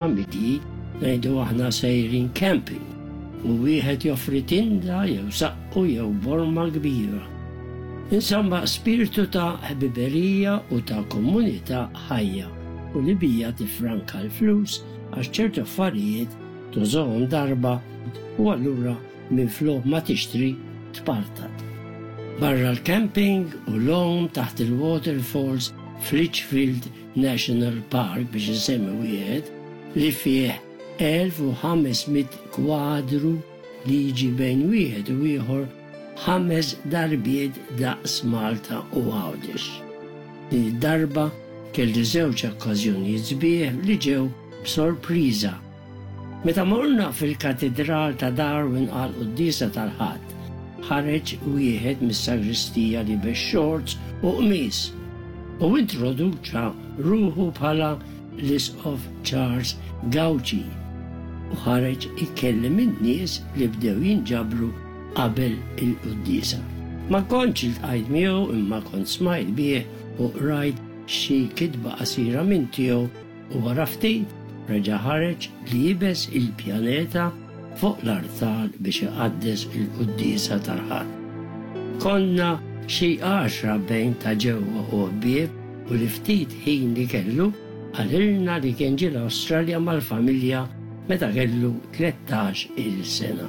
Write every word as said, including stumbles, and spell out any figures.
Familji, ngħidu aħna, sejrin camping u wieħed joffri tinda jew saqqu jew borma kbira. Insomma, spiritu ta' ħbiberija u ta' komunità ħajja u li bija tifranka l-flus, għax ċertu affarijiet tużahom darba u allura minflok ma tixtri tpartat. Barra l-camping u l-għawm taħt il-waterfalls f'Litchfield National Park, biex nsemmi wieħed li fih elf u ħames mitt kwadru li jiġi bejn wieħed u ieħor ħames darbiet daqs Malta u Għawdex. Din id-darba kelli żewġ okkażjonijiet sbieħ li ġew b'sorpriża. Meta morna fil-katedral ta' Darwin għal quddiesa tal-Ħadd, ħareġ wieħed mis-sagristija liebes shorts u qmis u introduċa ruħu bħala l-Isqof Charles Gauci u ħareġ ikellem in-nies li bdew jinġabru qabel il-quddiesa. Ma kontx iltqajt miegħu, imma kont smajt bih u qrajt xi kitba qasira minn tiegħu, u wara ftit reġa' ħareġ liebes il-pjaneta fuq l-artal biex iqaddes il-quddiesa tal-Ħadd. Konna xi għaxra bejn ta' ġewwa u ħbieb, u li ftit ħin li kellu qalilna li kien ġie l-Awstralja mal-familja meta kellu tlettax-il sena.